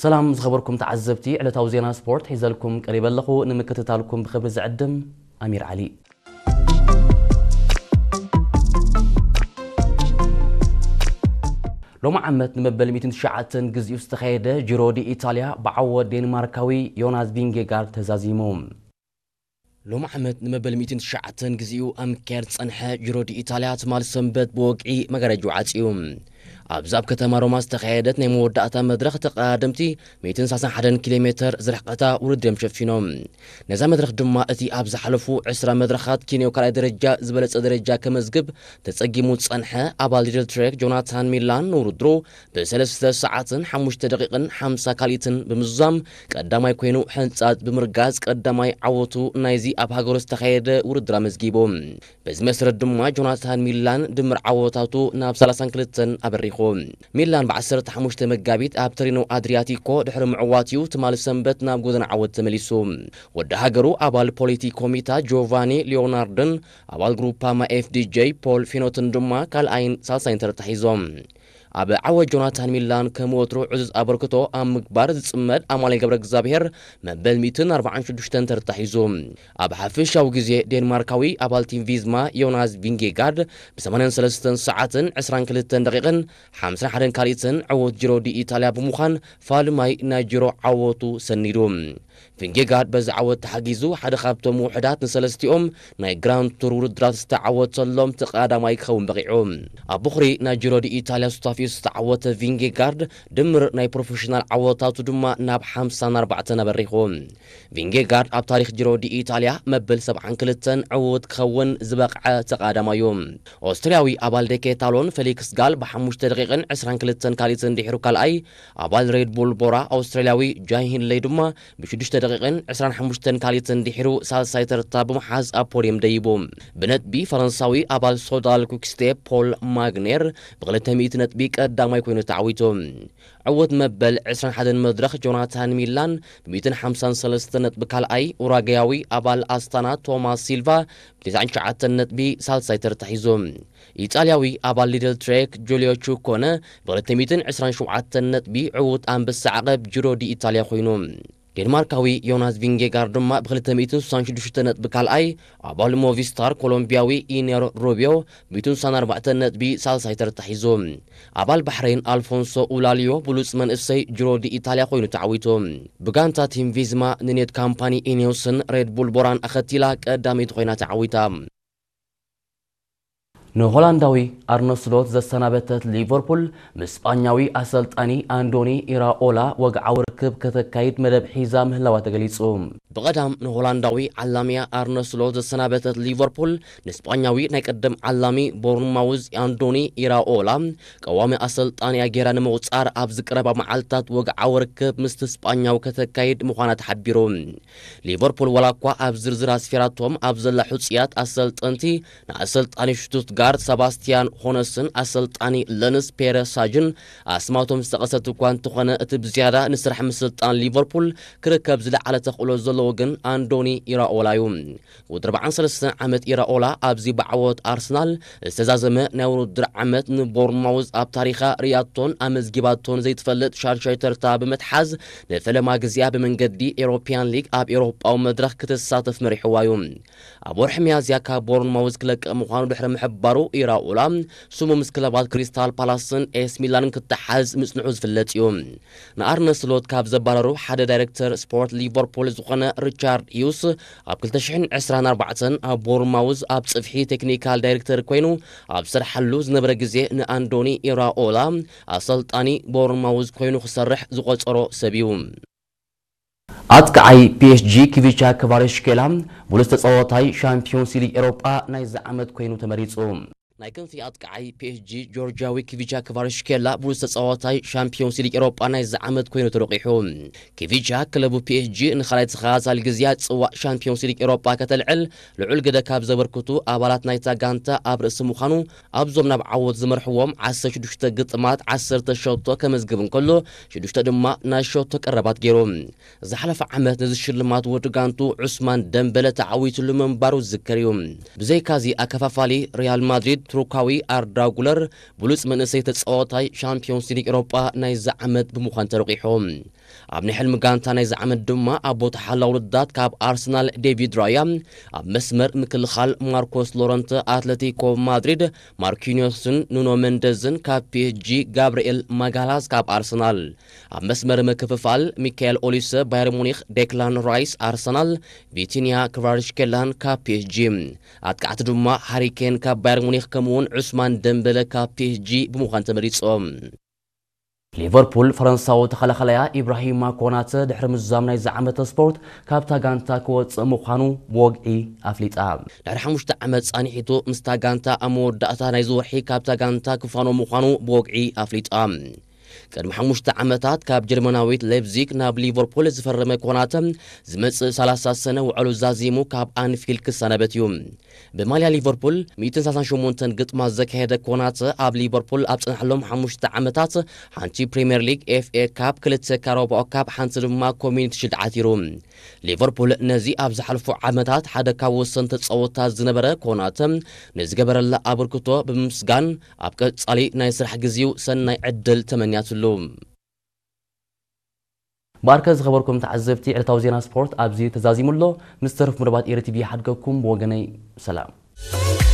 ሰላም ዝኸበርኩም ተዓዘብቲ፣ ዕለታዊ ዜና ስፖርት ሒዘልኩም ቀሪበ ኣለኹ። ንምክትታልኩም ብኽብሪ ዝዕድም ኣሚር ዓሊ። ሎሚ ዓመት ንመበል ሚእትን ትሽዓተን ግዜኡ ዝተኻየደ ጂሮ ዲ ኢታልያ ብዓወት ዴንማርካዊ ዮናስ ቪንጌጋርድ ተዛዚሙ። ሎሚ ዓመት ንመበል ሚእትን ትሽዓተን ግዜኡ ኣብ ምክያድ ዝጸንሐ ጂሮ ዲ ኢታልያ ትማል ሰንበት ብወግዒ መጋረጃ ዓጽዩ። ኣብዚ ኣብ ከተማ ሮማ ዝተኻየደት ናይ መወዳእታ መድረኽ ተቐዳደምቲ ሚእትን ሰላሳን ሓደን ኪሎ ሜተር ዝርሕቀታ ውድድር እዮም ሸፊኖም። ነዛ መድረኽ ድማ እቲ ኣብ ዝሓለፉ ዕስራ መድረኻት ኬንያዊ ካልኣይ ደረጃ ዝበለጸ ደረጃ ከመዝግብ ተጸጊሙ ዝጸንሐ ኣባል ሊድል ትሬክ ጆናታን ሚላን ንውድድሩ ብሰለስተ ሰዓትን ሓሙሽተ ደቂቕን ሓምሳ ካልኢትን ብምዝዛም ቀዳማይ ኮይኑ ሕንጻት ብምርጋጽ ቀዳማይ ዓወቱ ናይዚ ኣብ ሃገሩ ዝተኻየደ ውድድር ኣመዝጊቡ። በዚ መሰረት ድማ ጆናታን ሚላን ድምር ዓወታቱ ናብ ሰላሳን ክልተን ኣበሪኹ። ሚላን ብ ዓሰርተ ሓሙሽተ መጋቢት ኣብ ተሪኖ ኣድሪያቲኮ ድሕሪ ምዕዋት እዩ ትማሊ ሰንበት ናብ ጎደና ዓወት ተመሊሱ። ወዲ ሃገሩ ኣባል ፖሊቲ ኮሚታ ጆቫኒ ሊዮናርድን ኣባል ግሩፓማ ኤፍዲጄ ፖል ፊኖትን ድማ ካልኣይን ሳልሳይን ተረታ ሒዞም። ኣብ ዓወት ጆናታን ሚላን ከም ወትሩ ዕዙዝ ኣበርክቶ ኣብ ምግባር ዝጽመድ ኣማኑኤል ገብረ እግዚኣብሔር መበል ሚእትን ኣርባዓን ሽዱሽተን ተረታ ሒዙ። ኣብ ሓፈሻዊ ግዜ ዴንማርካዊ ኣባል ቲም ቪዝማ ዮናስ ቪንጌጋርድ ብ ሰማንያን ሰለስተን ሰዓትን ዕስራን ክልተን ደቂቕን ሓምሳን ሓደን ካልኢትን ዕዉት ጂሮ ዲ ኢታልያ ብምዃን ፋልማይ ናይ ጂሮ ዓወቱ ሰኒዱ። ቪንጌጋርድ በዚ ዓወት ተሓጊዙ ሓደ ካብቶም ውሑዳት ንሰለስቲኦም ናይ ግራንድ ቱር ውድድራት ዝተዓወተሎም ተቐዳማይ ክኸውን በቒዑ። ኣብ ቦኽሪ ናይ ጂሮ ዲ ኢታልያ ሱታፌኡ ዝተዓወተ ቪንጌጋርድ ድምር ናይ ፕሮፌሽናል ዓወታቱ ድማ ናብ ሓምሳን ኣርባዕተን ኣበሪኹ። ቪንጌጋርድ ኣብ ታሪኽ ጂሮ ዲ ኢታልያ መበል ሰብዓን ክልተን ዕዉት ክኸውን ዝበቕዐ ተቐዳማይ እዩ። ኦስትርያዊ ኣባል ደኬታሎን ፌሊክስ ጋል ብሓሙሽተ ደቂቕን ዕስራን ክልተን ካልኢትን ድሒሩ ካልኣይ፣ ኣባል ሬድ ቡል ቦራ ኣውስትራልያዊ ጃይ ሂንለይ ድማ ብሽዱሽተ ደቂቕን ዕስራን ሓሙሽተን ካልኢትን ድሒሩ ሳልሳይ ተርታ ብምሓዝ ኣብ ፖድየም ደይቡ። ብነጥቢ ፈረንሳዊ ኣባል ሶዳል ኩክስቴፕ ፖል ማግኔር ብክልተ ሚእቲ ነጥቢ ቀዳማይ ኮይኑ ተዓዊቱ። ዕውት መበል ዕስራን ሓደን መድረኽ ጆናታን ሚላን ብሚእትን ሓምሳን ሰለስተን ነጥቢ ካልኣይ፣ ኡራጋያዊ ኣባል ኣስታና ቶማስ ሲልቫ ብተስዓን ትሽዓተን ነጥቢ ሳልሳይ ተርታ ሒዙ። ኢጣልያዊ ኣባል ሊድል ትሬክ ጁልዮ ቹኮነ ብክልተ ሚእትን ዕስራን ሸውዓተን ነጥቢ ዕውት ኣንበሳ ዓቐብ ጂሮ ዲ ኢጣልያ ኮይኑ። ዴንማርካዊ ዮናስ ቪንጌጋርድ ድማ ብክልተ ሚእትን ስሳን ሽዱሽተ ነጥቢ ካልኣይ፣ ኣባል ሞቪስታር ኮሎምቢያዊ ኢነር ሩቢዮ ብሚእትን ስሳን ኣርባዕተን ነጥቢ ሳልሳይ ተርታ ሒዙ። ኣባል ባሕሬን ኣልፎንሶ ኡላልዮ ብሉጽ መንእሰይ ጂሮ ዲ ኢታልያ ኮይኑ ተዓዊቱ። ብጋንታ ቲም ቪዝማ ንኔት ካምፓኒ ኢኔዮስን ሬድ ቡል ቦራን ኣኸቲላ ቀዳመይቲ ኮይና ተዓዊታ። ንሆላንዳዊ ኣርነ ስሎት ዘሰናበተት ሊቨርፑል፣ ምስ ስጳኛዊ ኣሰልጣኒ ኣንዶኒ ኢራኦላ ወግዓዊ ርክብ ከተካይድ መደብ ሒዛ ምህላዋ ተገሊጹ። ብቐዳም ንሆላንዳዊ ዓላሚያ ኣርነ ስሎት ዘሰናበተት ሊቨርፑል፣ ንስጳኛዊ ናይ ቀደም ዓላሚ ቦርንማውዝ ኣንዶኒ ኢራኦላ ቀዋሚ ኣሰልጣኒያ ጌራ ንምቑጻር ኣብዚ ቀረባ መዓልታት ወግዓዊ ርክብ ምስቲ ስጳኛዊ ከተካይድ ምዃና ተሓቢሩ። ሊቨርፑል ዋላ እኳ ኣብ ዝርዝር ኣስፊራቶም ኣብ ዘላ ሕጹያት ኣሰልጠንቲ ንኣሰልጣኒ ሽቱትጋርት ሰባስቲያን ሆነስን ኣሰልጣኒ ለንስ ፔረ ሳጅን ኣስማቶም ዝጠቐሰት እኳ እንተኾነ፣ እቲ ብዝያዳ ንስራሕ ምስልጣን ሊቨርፑል ክርከብ ዝለዓለ ተኽእሎ ዘለዎ ግን ኣንዶኒ ኢራኦላ እዩ። ወዲ ኣርባዓን ሰለስተን ዓመት ኢራኦላ ኣብዚ ብዓወት ኣርሰናል ዝተዛዘመ ናይ ውድድር ዓመት ንቦርንማውዝ ኣብ ታሪኻ ርእያቶን ኣመዝጊባቶን ዘይትፈልጥ ሻድሻይ ተርታ ብምትሓዝ ንፈለማ ግዜኣ ብመንገዲ ኤሮፒያን ሊግ ኣብ ኤውሮጳዊ መድረኽ ክትሳተፍ መሪሕዋ እዩ። ኣብ ወርሒ ሚያዝያ ካብ ቦርንማውዝ ክለቅቕ ምዃኑ ድሕሪ ምሕባሩ ኢራኦላ ስሙ ምስ ክለባት ክሪስታል ፓላስን ኤስ ሚላንን ክተሓዝ ምጽንሑ ዝፍለጥ እዩ። ንኣርነ ስሎት ካብ ዘባረሩ ሓደ ዳይሬክተር ስፖርት ሊቨርፑል ዝኾነ ሪቻርድ ሂውስ ኣብ ክልተ ሽሕን ዕስራን ኣርባዕተን ኣብ ቦርንማውዝ ኣብ ጽፍሒ ቴክኒካል ዳይሬክተር ኮይኑ ኣብ ዝሰርሓሉ ዝነበረ ግዜ ንኣንዶኒ ኢራኦላ ኣሰልጣኒ ቦርንማውዝ ኮይኑ ክሰርሕ ዝቖጸሮ ሰብ እዩ። ኣጥቃዓይ ፒኤስጂ ኪቪቻ ክቫራትስኬላ ብሉጽ ተጻዋታይ ሻምፒዮንስ ሊግ ኤውሮጳ ናይዚ ዓመት ኮይኑ ተመሪጹ። ናይ ክንፊ ኣጥቃዓይ ፒኤስጂ ጆርጂያዊ ኪቪቻ ክቫራትስኬላ ብሉጽ ተጻዋታይ ሻምፒዮንስ ሊግ ኤውሮጳ ናይዚ ዓመት ኮይኑ ተረቂሑ። ኪቪቻ ክለቡ ፒኤስጂ ንኻልኣይ ተኸታታሊ ግዜያት ጽዋእ ሻምፒዮንስ ሊግ ኤውሮጳ ከተልዕል ልዑል ግደ ካብ ዘበርክቱ ኣባላት ናይታ ጋንታ ኣብ ርእሲ ምዃኑ ኣብዞም ናብ ዓወት ዝመርሕዎም ዓሰርተ ሽዱሽተ ግጥማት ዓሰርተ ሸቶ ከመዝግብ እንከሎ ሽዱሽተ ድማ ናይ ሸቶ ቀረባት ገይሩ። ዝሓለፈ ዓመት ነዚ ሽልማት ወዲ ጋንቱ ዑስማን ደምበለ ተዓዊትሉ ምንባሩ ዝዝከር እዩ። ብዘይካዚ ኣከፋፋሊ ሪያል ማድሪድ ቱርካዊ ኣርዳ ጉለር ብሉጽ መንእሰይ ተጻዋታይ ሻምፒዮንስ ሊግ ኤውሮጳ ናይዚ ዓመት ብምዃን ተረቂሑ። ኣብ ናይ ሕልሚ ጋንታ ናይዚ ዓመት ድማ ኣብ ቦታ ሓላው ውድዳት ካብ ኣርሰናል ዴቪድ ራያ፣ ኣብ መስመር ምክልኻል ማርኮስ ሎረንት ኣትለቲኮ ማድሪድ፣ ማርኪኒዮስን ኑኖ መንደዝን ካብ ፒ ኤስ ጂ፣ ጋብርኤል ማጋላስ ካብ ኣርሰናል፣ ኣብ መስመር ምክፍፋል ሚካኤል ኦሊሰ ባየር ሙኒክ፣ ዴክላን ራይስ ኣርሰናል፣ ቪቲኒያ ክቫራትስኬላን ካብ ፒ ኤስ ጂ፣ ኣጥቃዕቲ ድማ ሃሪኬን ካብ ባየር ሙኒክ ከምኡውን ዑስማን ደምበለ ካብ ፒ ኤስ ጂ ብምዃን ተመሪጾም። ሊቨርፑል ፈረንሳዊ ተኸላኸላያ ኢብራሂማ ኮናተ ድሕሪ ምዛም ናይዚ ዓመተ ስፖርት ካብታ ጋንታ ክወጽእ ምዃኑ ብወግዒ ኣፍሊጣ። ድሕሪ ሓሙሽተ ዓመት ጻኒሒቱ ምስታ ጋንታ ኣብ መወዳእታ ናይዚ ወርሒ ካብታ ጋንታ ክፋኖ ምዃኑ ብወግዒ ኣፍሊጣ። ቅድሚ ሓሙሽተ ዓመታት ካብ ጀርመናዊት ሌፕዚግ ናብ ሊቨርፑል ዝፈረመ ኮናተ ዝመጽእ ሰላሳ ሰነ ውዕሉ ዛዚሙ ካብ ኣንፊልድ ክሰናበት እዩ። ብማልያ ሊቨርፑል ሚእትን ሰላሳን ሸሞንተን ግጥማት ዘካየደ ኮናተ ኣብ ሊቨርፑል ኣብ ጸንሐሎም ሓሙሽተ ዓመታት ሓንቲ ፕሪምየር ሊግ፣ ኤፍ ኤ ካፕ፣ ክልተ ካራባኦ ካፕ፣ ሓንቲ ድማ ኮሚኒቲ ሽልድ ዓቲሩ። ሊቨርፑል ነዚ ኣብ ዝሓለፉ ዓመታት ሓደ ካብ ወሰንቲ ተጻወትታ ዝነበረ ኮናተ ንዝገበረላ ኣበርክቶ ብምምስጋን ኣብ ቀጻሊ ናይ ስራሕ ግዜኡ ሰናይ ዕድል ተመንያትሉ። ባርከ ዝኸበርኩም ተዓዘብቲ ዕለታዊ ዜና ስፖርት ኣብዚ ተዛዚሙ ኣሎ። ምስ ተረፍ መደባት ኤሪ ቲቪ ይሓድገኩም። ብወገነይ ሰላም።